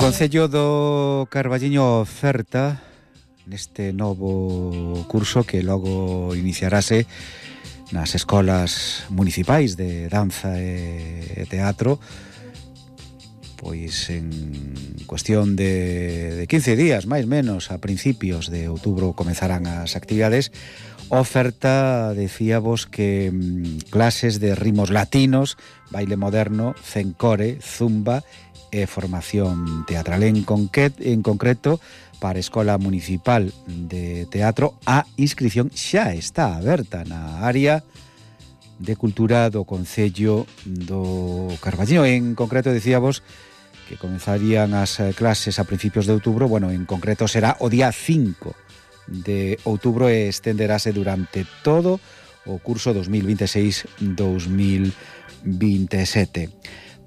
Concello do Carballiño oferta neste novo curso que logo iniciarase nas escolas municipais de danza e teatro, pois en cuestión de 15 días, máis menos, a principios de outubro comezarán as actividades. Oferta, decíamos, que clases de ritmos latinos, baile moderno, cencore, zumba e formación teatral. En concreto, para a Escola Municipal de Teatro, a inscripción xa está aberta na área de cultura do Concello do Carballiño. En concreto, decíamos que comenzarían as clases a principios de outubro. Bueno, en concreto será o día 5 de outubro e estenderase durante todo o curso 2026-2027.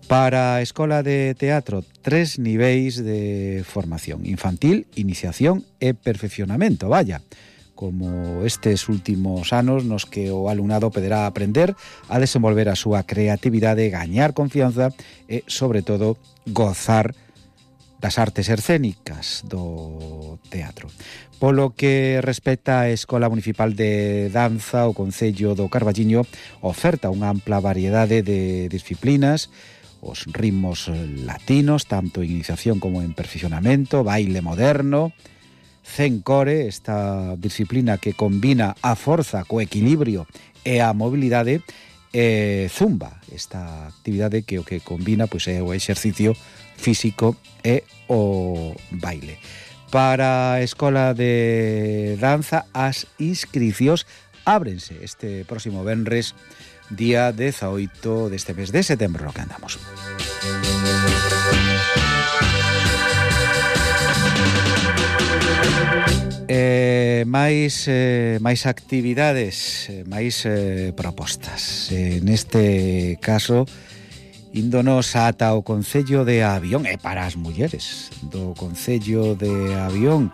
Para a Escola de Teatro, 3 niveis de formación: infantil, iniciación e perfeccionamento. Vaya, como estes últimos anos nos que o alumnado poderá aprender a desenvolver a súa creatividade, gañar confianza e, sobre todo, gozar das artes escénicas do teatro. Polo que respecta á Escola Municipal de Danza, o Concello do Carballiño oferta unha ampla variedade de disciplinas, os ritmos latinos, tanto en iniciación como en perfeccionamento, baile moderno, cencore, esta disciplina que combina a forza co equilibrio e a mobilidade, e zumba, esta actividade que o que combina pois é o exercicio físico e o baile. Para a Escola de Danza, as inscricións ábrense este próximo venres, día 18 deste mes de setembro, no que andamos. Máis actividades, máis propostas. Neste caso, índonos ata o Concello de Avión, e para as mulleres do Concello de Avión,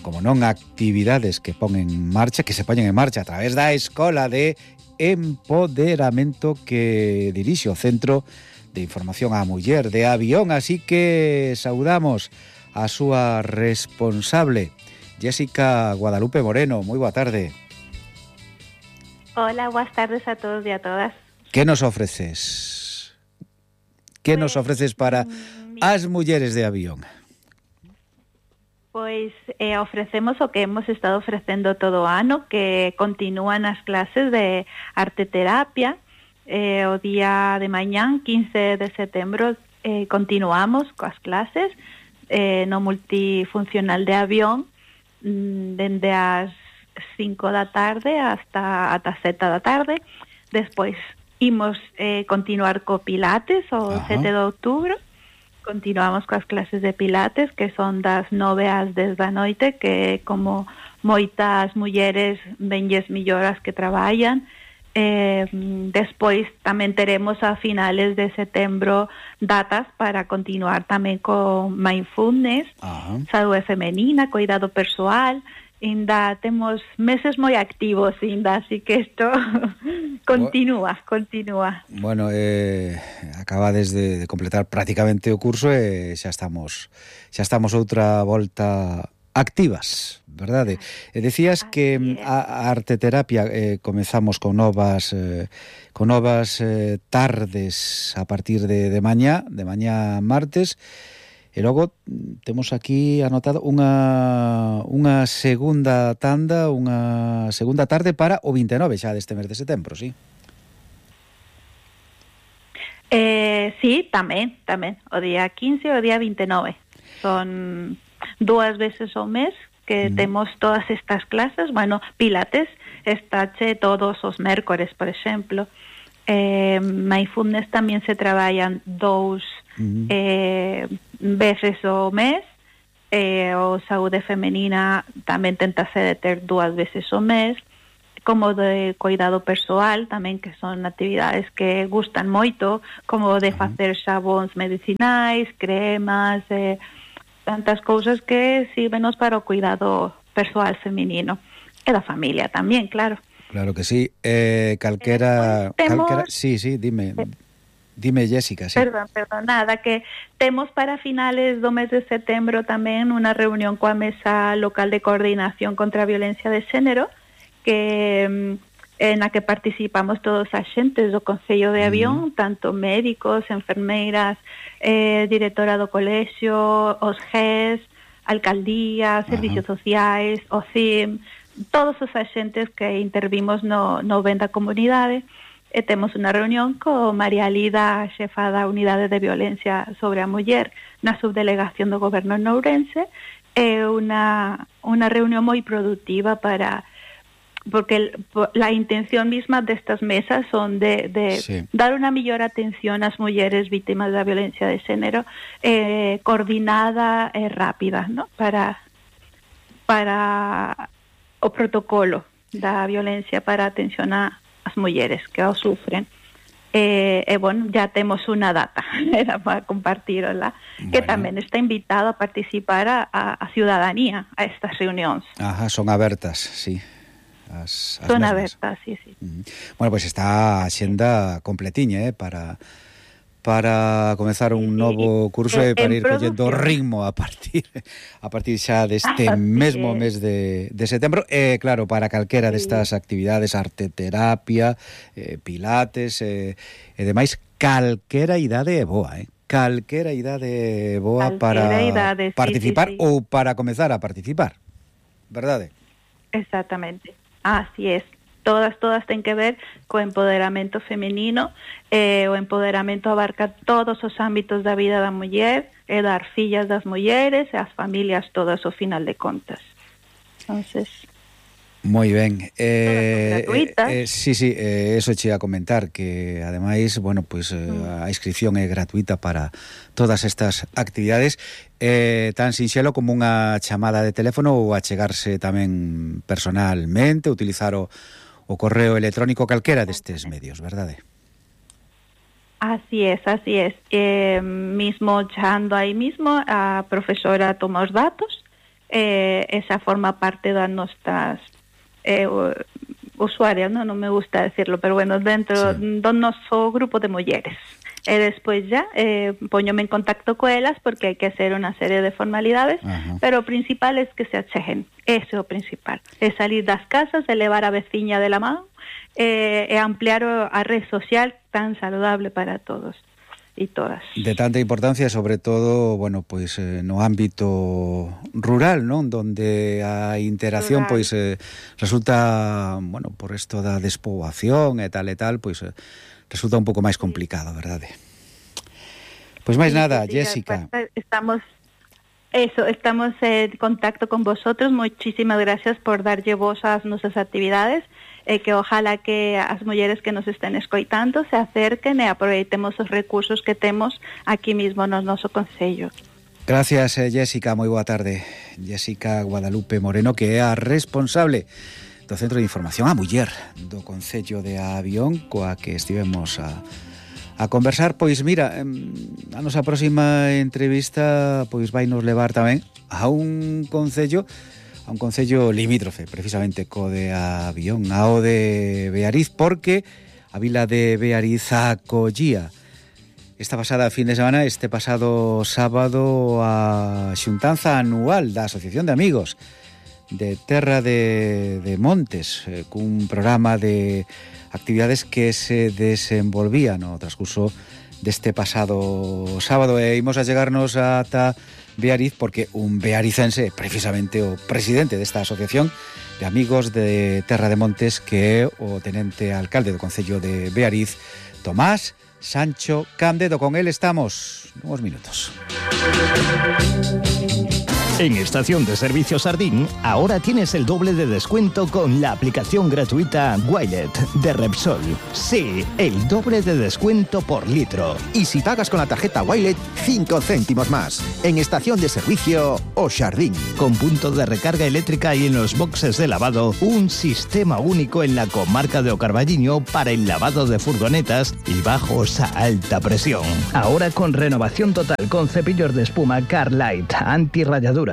como non, actividades que se poñen en marcha a través da Escola de Empoderamento que dirixe o Centro de Información á Muller de Avión. Así que saudamos a súa responsable, Jessica Guadalupe Moreno. Moi boa tarde. Hola, boas tardes a todos e a todas. Que nos ofreces? Que nos ofreces para as mulleres de Avión? Pois ofrecemos o que hemos estado ofrecendo todo o ano, que continúan as clases de arte terapia. O día de mañán, 15 de setembro, continuamos coas clases no multifuncional de Avión, dende as 5 da tarde ata 7 da tarde. Despois imos continuar co Pilates o 7 de outubro. Continuamos coas clases de Pilates, que son das 9 ás 10 da noite, que como moitas mulleres venlles millor as que traballan. Despois tamén teremos a finales de setembro datas para continuar tamén con mindfulness, saúde femenina, cuidado persoal. Ainda temos meses moi activos, ainda, así que isto continúa. Bueno, acabades de completar prácticamente o curso e xa estamos outra volta activas, verdade? Decías que a arte terapia comezamos con novas tardes a partir de mañá martes. E logo temos aquí anotado unha segunda tanda, unha segunda tarde para o 29 xa deste mes de setembro, sí? Sí, tamén. O día 15 e o día 29. Son 2 veces ao mes que temos todas estas clases. Bueno, Pilates está todos os mércores, por exemplo. Mindfulness tamén se traballan 2 veces ao mes. O saúde femenina tamén tentase de ter 2 veces ao mes, como de cuidado persoal tamén, que son actividades que gustan moito, como de facer xabóns medicinais, cremas, tantas cousas que sirvenos para o cuidado persoal feminino e da familia tamén, claro. Claro que sí. Calquera... Sí, dime. Dime, Jessica, sí. Perdón, nada, que temos para finales do mes de setembro tamén unha reunión coa Mesa Local de Coordinación contra a Violencia de Xénero, que na que participamos todos os axentes do Concello de Avión, tanto médicos, enfermeiras, directora do colexio, os GES, alcaldía, servicios sociais, o CIM, todos os axentes que intervimos no ben da comunidade. E temos unha reunión co María Lida, xefa da Unidade de Violencia sobre a Muller na subdelegación do Goberno en Ourense, e unha reunión moi productiva porque la intención misma destas mesas son de dar unha mellor atención ás mulleres vítimas da violencia de xénero, coordinada e rápida, ¿no? para o protocolo da violencia para atención as mulleres que o sufren. Bueno, ya temos unha data era para compartirla, que tamén está invitado a participar a ciudadanía a estas reunións. Ajá, son abertas, sí. Son abertas, sí. Bueno, pues está a xenda completiña, para comezar un novo curso e para ir collendo ritmo a partir xa deste mesmo mes de setembro. Claro, para calquera destas actividades, arteterapia, pilates e demais, calquera idade é boa, calquera idade boa para participar ou para comezar a participar, verdade? Exactamente, así es. Todas ten que ver co empoderamento femenino. O empoderamento abarca todos os ámbitos da vida da muller, e dar fillas das mulleres e as familias todas ao final de contas. Entonces, moi ben. Gratuitas. Sí, eso che a comentar, que ademais, bueno, pues a inscripción é gratuita para todas estas actividades, tan sinxelo como unha chamada de teléfono ou achegarse tamén personalmente, utilizar o correo electrónico, calquera destes medios, verdade? Así es. Mismo chando aí mismo, a profesora toma os datos, esa forma parte das nostras usuarias, non me gusta decirlo, pero bueno, dentro do noso grupo de mulleres. E despois ya poñome en contacto coelas, porque hai que hacer unha serie de formalidades, pero o principal é que se acheguen. Ese é o principal. É salir das casas, elevar a veciña de la mão, e ampliar a red social tan saludable para todos e todas. De tanta importancia, sobre todo, bueno, pois no ámbito rural, non? Donde a interacción pois resulta, bueno, por isto da despoboación e tal, pois resulta un pouco máis complicado, verdade? Pois máis nada, Jessica. Estamos en contacto con vosotros. Muchísimas gracias por darlle voz ás nosas actividades, e que ojalá que as mulleres que nos estén escoitando se acerquen e aproveitemos os recursos que temos aquí mismo no noso concello. Gracias, Jessica, moi boa tarde. Jessica Guadalupe Moreno, que é a responsable do Centro de Información á Muller do Concello de Avión, coa que estivemos a conversar. Pois mira, a nosa próxima entrevista pois vai nos levar tamén a un concello limítrofe, precisamente co de Avión, ao de Beariz, porque a vila de Beariz acollía esta pasada fin de semana, este pasado sábado, a xuntanza anual da Asociación de Amigos de Terra de Montes, cun programa de actividades que se desenvolvían no transcurso deste pasado sábado, e imos a chegarnos ata Beariz porque un bearicense, precisamente o presidente desta asociación de amigos de Terra de Montes, que é o tenente alcalde do Concello de Beariz, Tomás Sancho Candedo. Con él estamos unos minutos. En Estación de Servicio Sardín, ahora tienes el doble de descuento con la aplicación gratuita Wilet de Repsol. Sí, el doble de descuento por litro. Y si pagas con la tarjeta Wilet, 5 céntimos más. En Estación de Servicio O Sardín. Con punto de recarga eléctrica y en los boxes de lavado, un sistema único en la comarca de O Carballiño para el lavado de furgonetas y bajos a alta presión. Ahora con renovación total con cepillos de espuma Carlite antirrayaduras.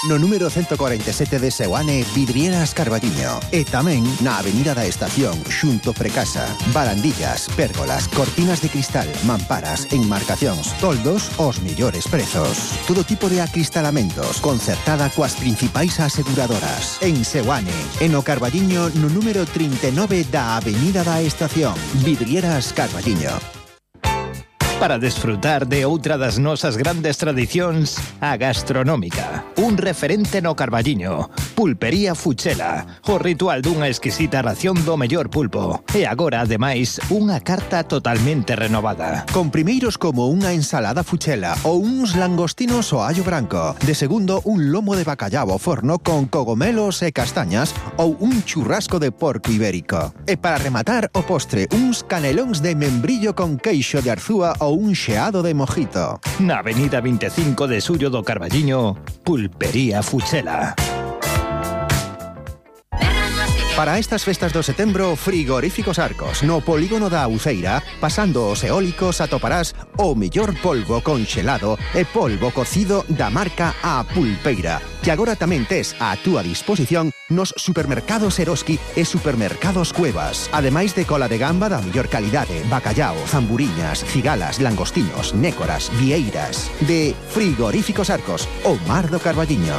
No número 147 de Seoane, Vidrieras Carballiño. E tamén na Avenida da Estación, xunto Precasa. Barandillas, pérgolas, cortinas de cristal, mamparas, enmarcacións, toldos, os millores prezos. Todo tipo de acristalamentos, concertada coas principais aseguradoras. En Seoane, en o Carballiño, no número 39 da Avenida da Estación. Vidrieras Carballiño. Para desfrutar de outra das nosas grandes tradicións, a gastronómica. Un referente no Carballiño. Pulpería Fuchela. O ritual dunha exquisita ración do mellor pulpo. E agora, ademais, unha carta totalmente renovada. Con primeiros como unha ensalada fuchela ou uns langostinos ao allo branco. De segundo, un lomo de bacallao ao forno con cogomelos e castañas ou un churrasco de porco ibérico. E para rematar o postre, uns canelóns de membrillo con queixo de arzúa ou un xeado de mojito. Na avenida 25 de Xullo do Carballiño, Pulpería Fuchela. Para estas festas do setembro, Frigoríficos Arcos. No polígono da Uceira, pasando os eólicos, atoparás o mellor polvo conxelado e polvo cocido da marca A Pulpeira, que agora tamén tes a túa disposición nos supermercados Eroski e supermercados Cuevas. Ademais de cola de gamba da mellor calidade, bacallao, zamburiñas, cigalas, langostinos, nécoras, vieiras. De Frigoríficos Arcos, o mar do Carballiño.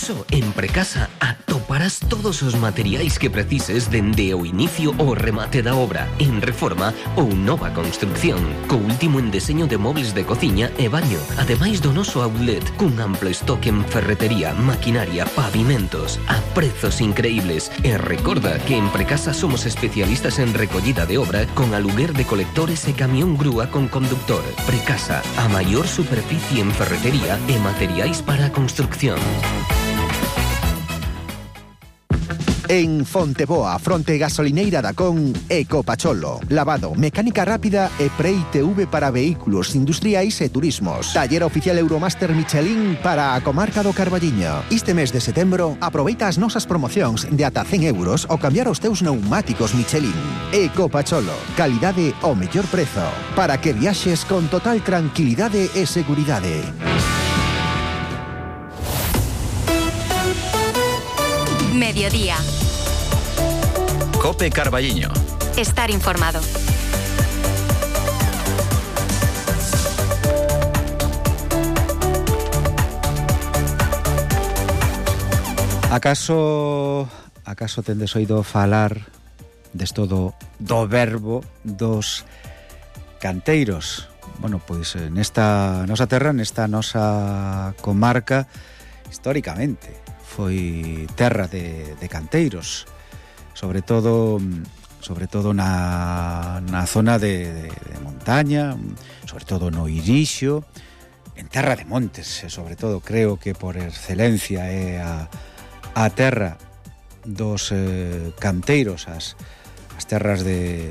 Só en Precasa atoparás todos os materiais que precises dende o inicio ao remate da obra, en reforma ou nova construcción, co último en deseño de mobles de cociña e baño, ademais do noso outlet, cun amplo estoque en ferretería, maquinaria, pavimentos, a prezos increíbles. E recorda que en Precasa somos especialistas en recollida de obra con aluguer de colectores e camión grúa con conductor. Precasa, a maior superficie en ferretería e materiais para a construcción. En Fonteboa, fronte gasolineira da Con, Ecopacholo. Lavado, mecánica rápida e pre-ITV para vehículos industriais e turismos. Taller oficial Euromaster Michelin para a comarca do Carballiño. Este mes de setembro, aproveita as nosas promocións de ata 100 euros ao cambiar os teus pneumáticos Michelin. Ecopacholo, calidade ao mellor prezo, para que viaxes con total tranquilidade e seguridade. Mediodía. Cope Carballiño. Estar informado. Acaso tendes oído falar desto do verbo dos canteiros? Bueno, pois nesta nosa terra, nesta nosa comarca, históricamente foi terra de canteiros, sobre todo na zona de montaña, sobre todo no Irixo, en terra de montes, sobre todo creo que por excelencia é a terra dos canteiros, as terras de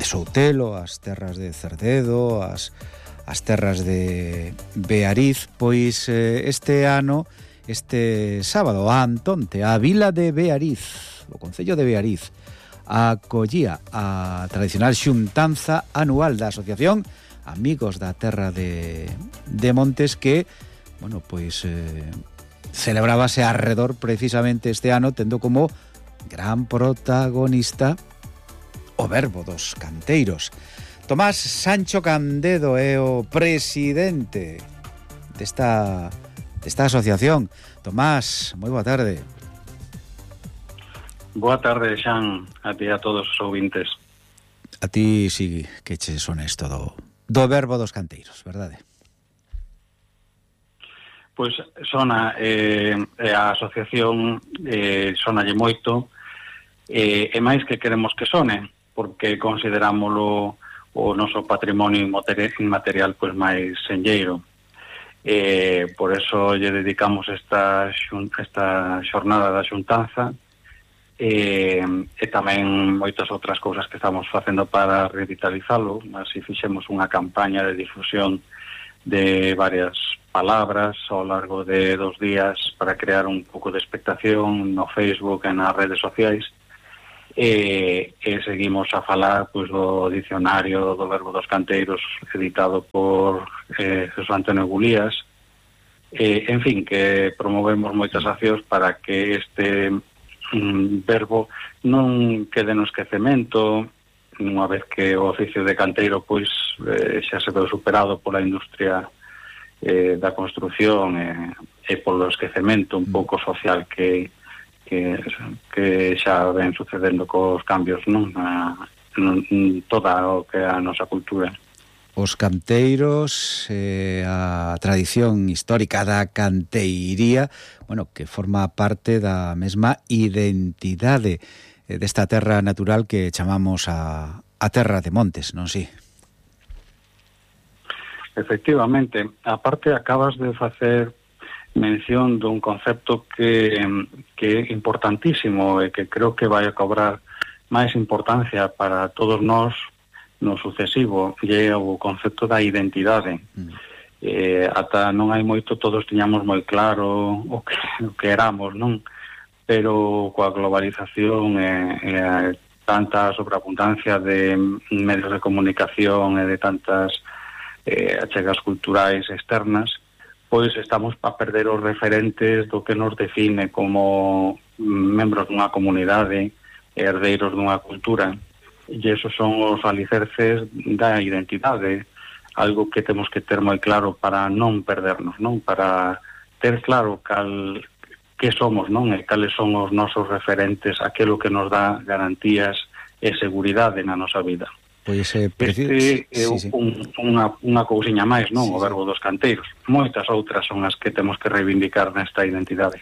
Soutelo, as terras de Cerdedo, as terras de Beariz. Pois este ano, este sábado, a Antonte, a vila de Beariz, o concello de Beariz, acollía a tradicional xuntanza anual da Asociación Amigos da Terra de Montes, que, bueno, pois celebrábase arredor precisamente este ano, tendo como gran protagonista o verbo dos canteiros. Tomás Sancho Candedo é o presidente desta asociación. Tomás, moi boa tarde. Boa tarde, Xan, a ti a todos os ouvintes. A ti sí que che sones todo do verbo dos canteiros, verdade? Pois sona a asociación, sonalle moito, e máis que queremos que sone, porque considerámoslo o noso patrimonio inmaterial pois máis senlleiro. Por eso lle dedicamos esta xornada da xuntanza, e tamén moitas outras cousas que estamos facendo para revitalizalo. Así fixemos unha campaña de difusión de varias palabras ao largo de 2 días para crear un pouco de expectación no Facebook e nas redes sociais, e seguimos a falar pois do dicionario do verbo dos canteiros editado por José Antonio Gulías, En fin, que promovemos moitas accións para que este verbo non quede no esquecemento, unha vez que o oficio de canteiro pois xa se veu superado pola industria da construción e polo esquecemento un pouco social que xa ven sucedendo cos cambios, non? Toda o que é a nosa cultura. Os canteiros, a tradición histórica da canteiría, bueno, que forma parte da mesma identidade desta terra natural que chamamos a terra de Montes, non si? Efectivamente, aparte acabas de facer mención dun concepto que é importantísimo e que creo que vai a cobrar máis importancia para todos nós no sucesivo, e é o concepto da identidade. Ata non hai moito, todos tiñamos moi claro o que éramos, non? Pero coa globalización e tanta sobreabundancia de medios de comunicación e de tantas achegas culturais externas, pois estamos a perder os referentes do que nos define como membros dunha comunidade, herdeiros dunha cultura. E esos son os alicerces da identidade, algo que temos que ter moi claro para non perdernos, non? Para ter claro que somos, non? E cales son os nosos referentes, aquilo que nos dá garantías e seguridade na nosa vida. Pois este é unha cousiña máis, non? O verbo dos canteiros. Moitas outras son as que temos que reivindicar nesta identidade.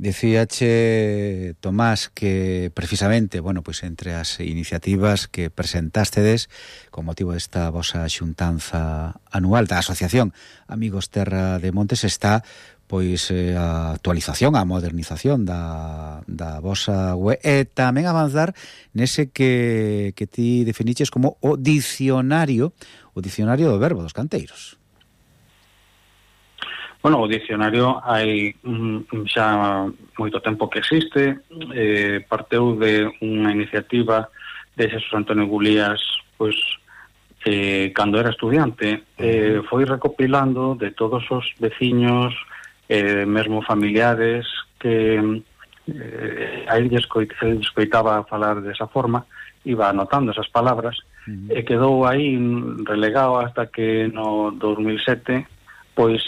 Dicíache, Tomás, que precisamente, bueno, pois entre as iniciativas que presentástedes con motivo desta vosa xuntanza anual da Asociación Amigos Terra de Montes está pois a actualización, a modernización da vosa web e tamén avanzar nese que ti definiches como o dicionario do verbo dos canteiros. Bueno, o dicionario hai xa moito tempo que existe, parteu de unha iniciativa de Xesús Antonio Gulías, pois, cando era estudiante, foi recopilando de todos os veciños, mesmo familiares, que a ele escoitaba falar desa forma, iba anotando esas palabras, e quedou aí relegado hasta que no 2007 pois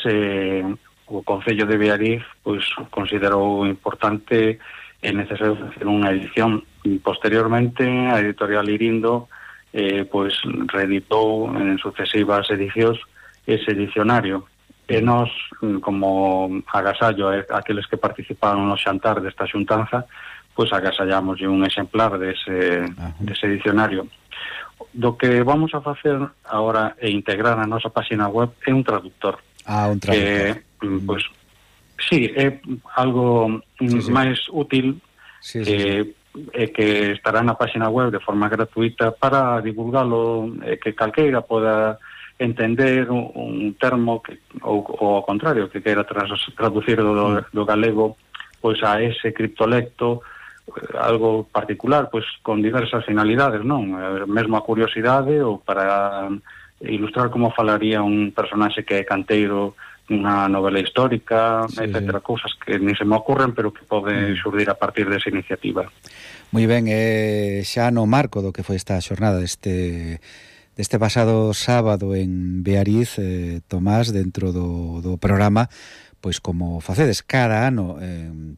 o Concello de Beariz pois considerou importante e necesario facer unha edición. Posteriormente a editorial Irindo pois reeditou en sucesivas edicións ese dicionario e nós, como agasallo aqueles que participaron no xantar desta xuntanza, pois agasallamos un exemplar dese dicionario. Do que vamos a facer agora e integrar na nosa página web é un traductor. Un traductor. Pois, sí, é algo máis útil e que estará na página web de forma gratuita para divulgalo, que calqueira poda entender un termo ou ao contrario, que queira traducir do galego pois a ese criptolecto algo particular, pois con diversas finalidades, non? Mesmo a curiosidade ou para ilustrar como falaría un personaxe que é canteiro nunha novela histórica, etcétera, cousas que ni se me ocurren, pero que poden xurdir a partir desa iniciativa. Moi ben, xa no marco do que foi esta xornada deste pasado sábado en Beariz, Tomás, dentro do programa, pois como facedes cada ano,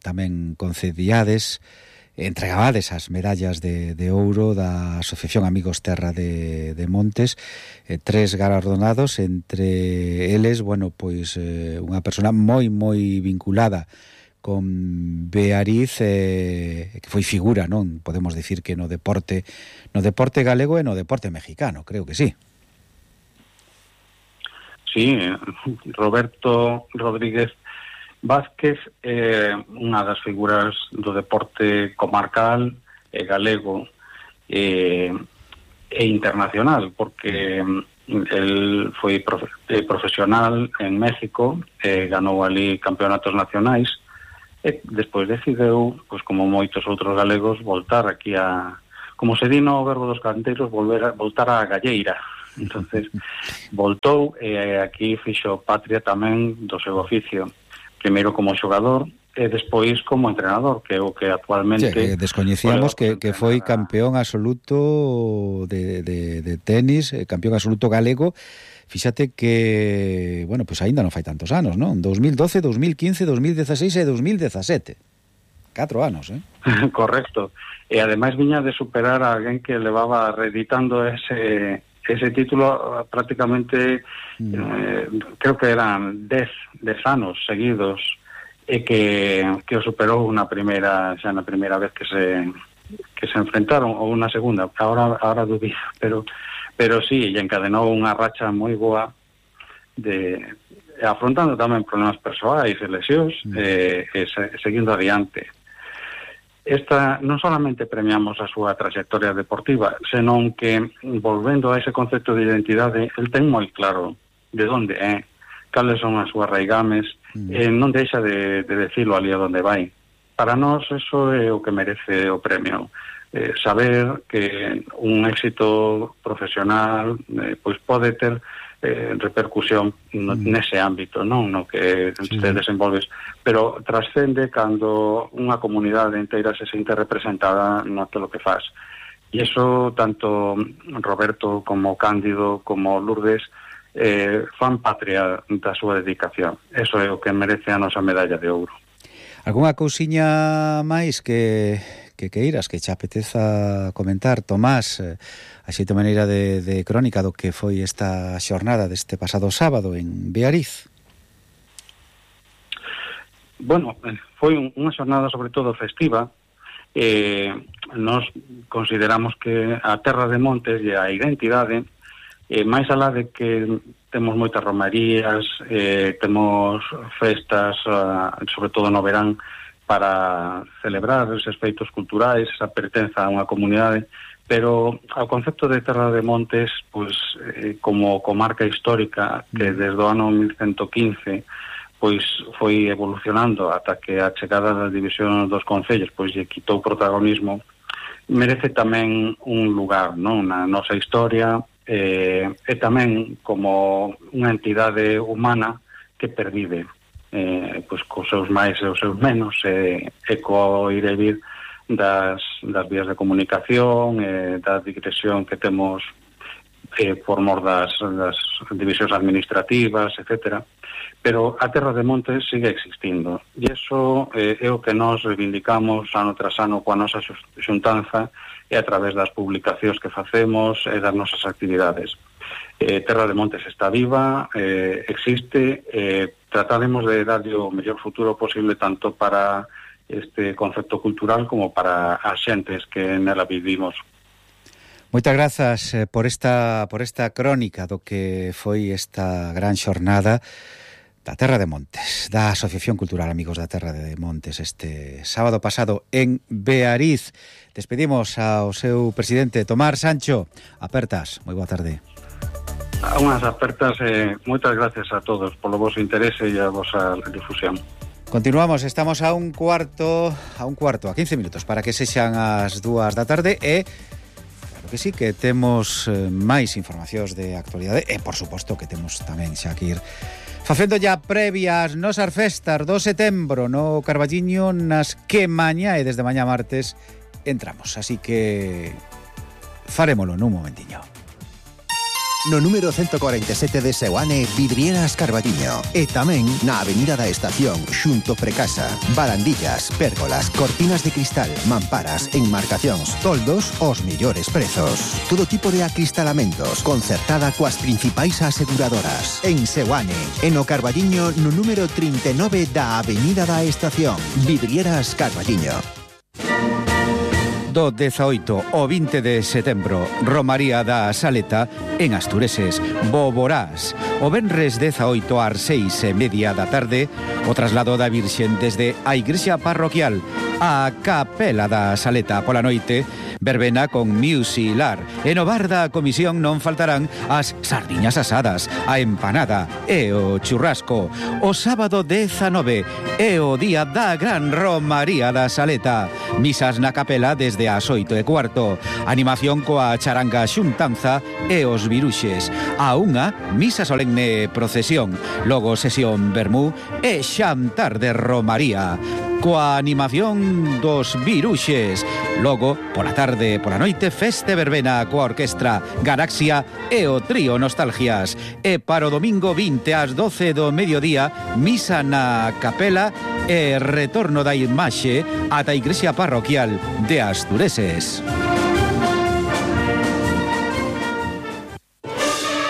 tamén concedíades, entregabades as medallas de ouro da Asociación Amigos Terra de Montes, 3 galardonados, entre eles, bueno, pois unha persona moi vinculada con Beariz, que foi figura, non? Podemos dicir que no deporte galego e no deporte mexicano, creo que sí. Sí, Roberto Rodríguez Vázquez é unha das figuras do deporte comarcal e galego e internacional, porque el foi profesional en México, ganou ali campeonatos nacionais e despois decideu, pois como moitos outros galegos, voltar aquí como se di no verbo dos canteiros, voltar á galleira, Entonces voltou e aquí fixo patria tamén do seu oficio, primeiro como xogador e despois como entrenador, que é o que actualmente... Sí, descoñecíamos que foi campeón absoluto de tenis, campeón absoluto galego. Fíxate que, bueno, pues aínda non fai tantos anos, non? 2012, 2015, 2016 e 2017. 4 anos, Correcto. E ademais viña de superar a alguén que levaba reeditando ese título prácticamente, creo que eran 10 anos seguidos, e que o superou na primeira vez que se enfrentaron, ou unha segunda, ahora dubido, pero sí, e encadenou unha racha moi boa afrontando tamén problemas persoais e lesións, seguindo adiante. Esta non solamente premiamos a súa trayectoria deportiva, senón que, volvendo a ese concepto de identidade, el ten moi claro de onde é, cales son as súas raigames, non deixa de decirlo ali a donde vai. Para nós, eso é o que merece o premio. Saber que un éxito profesional pois pode ter repercusión nese ámbito, non no que te desenvolves, pero trascende cando unha comunidade inteira se sente representada naquilo que faz. E iso tanto Roberto como Cándido como Lourdes fan patria da súa dedicación. Eso é o que merece a nosa medalla de ouro. Algúnha cousiña máis que queiras, que che apeteza comentar, Tomás, así de maneira de crónica do que foi esta xornada deste pasado sábado en Beariz? Bueno, foi unha xornada sobre todo festiva. Nos consideramos que a terra de Montes e a identidade, máis alá de que temos moitas romarías, temos festas, sobre todo no verán, para celebrar esos feitos culturais, esa pertenza a unha comunidade, pero ao concepto de Terra de Montes, pois, como comarca histórica que desde o ano 1115 pois foi evolucionando ata que a chegada da división dos concellos pois lle quitou protagonismo, merece tamén un lugar, non, na nosa historia, e tamén como unha entidade humana que pervive, pois cos seus máis e os seus menos, e co ir e vir das vías de comunicación, da digresión que temos por mor das divisións administrativas, etcétera. Pero a Terra de Montes sigue existindo, e iso é o que nos reivindicamos ano tras ano coa nosa xuntanza e a través das publicacións que facemos e das nosas actividades. Terra de Montes está viva, existe, trataremos de darlle o mellor futuro posible tanto para este concepto cultural como para as xentes que nela vivimos. Moitas grazas por esta crónica do que foi esta gran xornada da Terra de Montes, da Asociación Cultural Amigos da Terra de Montes, este sábado pasado en Beariz. Despedimos ao seu presidente, Tomás Sancho. Apertas, moi boa tarde. Unhas apertas, moitas gracias a todos polo vosso interese e a vosa difusión. Continuamos, estamos a un cuarto, a 15 minutos para que sexan as 2 da tarde e claro que sí, que temos máis informacións de actualidade e por suposto que temos tamén xa que ir facendo ya previas nosas festas do setembro no Carballiño, nas que mañá e desde mañá martes entramos, así que farémolo nun momentiño. No número 147 de Seoane, Vidrieras Carballiño. E tamén na Avenida da Estación, xunto Precasa. Barandillas, pérgolas, cortinas de cristal, mamparas, enmarcacións, toldos, os mellores prezos. Todo tipo de acristalamentos, concertada coas principais aseguradoras. En Seoane, e no Carballiño, no número 39 da Avenida da Estación. Vidrieras Carballiño. Do 18 ao 20 de setembro, Romaría da Saleta en Astureses, Boborás. O venres 18 ás 6:30 da tarde, o traslado da Virxen desde a Igrexa Parroquial A Capela da Saleta pola noite, verbena con Musilar. E no bar da comisión non faltarán as sardiñas asadas, a empanada e o churrasco. O sábado 19 é o día da Gran Romaría da Saleta. Misas na capela desde as 8:15. Animación coa charanga xuntanza e os viruxes. A unha, misa solemne procesión. Logo sesión vermú e xantar de Romaría. Coa animación dos viruxes. Logo, pola tarde, pola noite, feste verbena coa orquestra Galaxia e o trío Nostalgias. E para o domingo 20 ás 12 do mediodía, misa na capela e retorno da imaxe ata a igrexa parroquial de Astureses.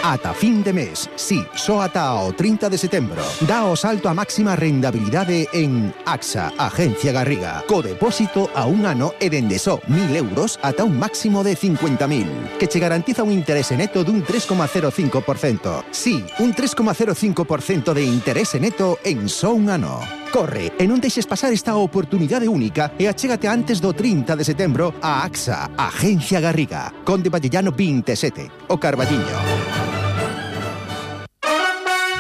Ata fin de mes, sí, só ata o 30 de setembro. Dá o salto a máxima rendabilidade en AXA, Agencia Garriga. Co depósito a un ano e dende só 1.000 euros ata un máximo de 50.000, que che garantiza un interese neto dun 3,05%. Sí, un 3,05% de interese neto en só un ano. Corre e non deixes pasar esta oportunidade única e achégate antes do 30 de setembro a AXA, Agencia Garriga. Conde Vallellano 27, o Carballiño.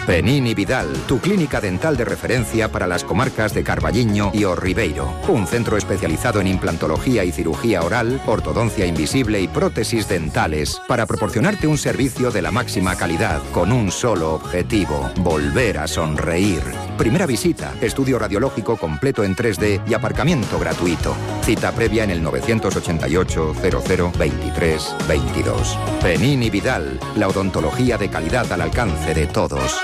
Penín y Vidal, tu clínica dental de referencia para las comarcas de Carballiño y O Ribeiro. Un centro especializado en implantología y cirugía oral, ortodoncia invisible y prótesis dentales para proporcionarte un servicio de la máxima calidad con un solo objetivo: volver a sonreír. Primera visita, estudio radiológico completo en 3D y aparcamiento gratuito. Cita previa en el 988 00 23 22. Penín y Vidal, la odontología de calidad al alcance de todos.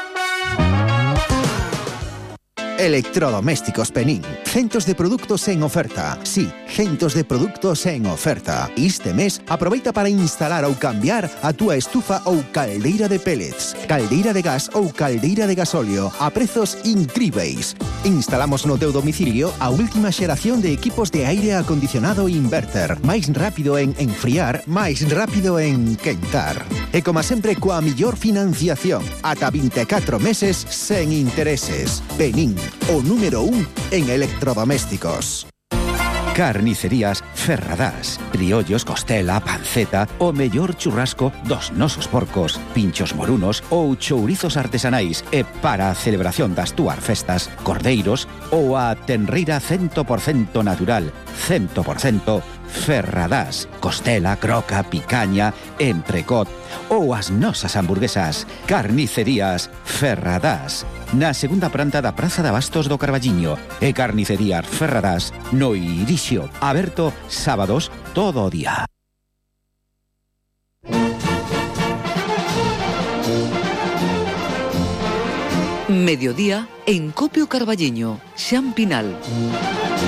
Electrodomésticos Penín. Centos de produtos en oferta. Sí, centos de produtos en oferta. Este mes, aproveita para instalar ou cambiar a túa estufa ou caldeira de pellets, caldeira de gas ou caldeira de gasóleo a prezos incríveis. Instalamos no teu domicilio a última xeración de equipos de aire acondicionado inverter. Máis rápido en enfriar, máis rápido en quentar. E como sempre, coa millor financiación. Ata 24 meses sen intereses. Penín, o número 1 en electrodomésticos. Carnicerías Ferradás. Criollos, costela, panceta, o mellor churrasco dos nosos porcos, pinchos morunos ou chourizos artesanais. E para a celebración das túas festas, cordeiros ou a tenreira 100% natural, 100% Ferradás. Costela, croca, picaña, entrecot ou as nosas hamburguesas. Carnicerías Ferradás. Na segunda planta da Praza de Abastos do Carballiño. E Carnicerías Ferradás no Irixio. Aberto sábados todo o día. Mediodía en Copio Carballiño, Xan Pinal.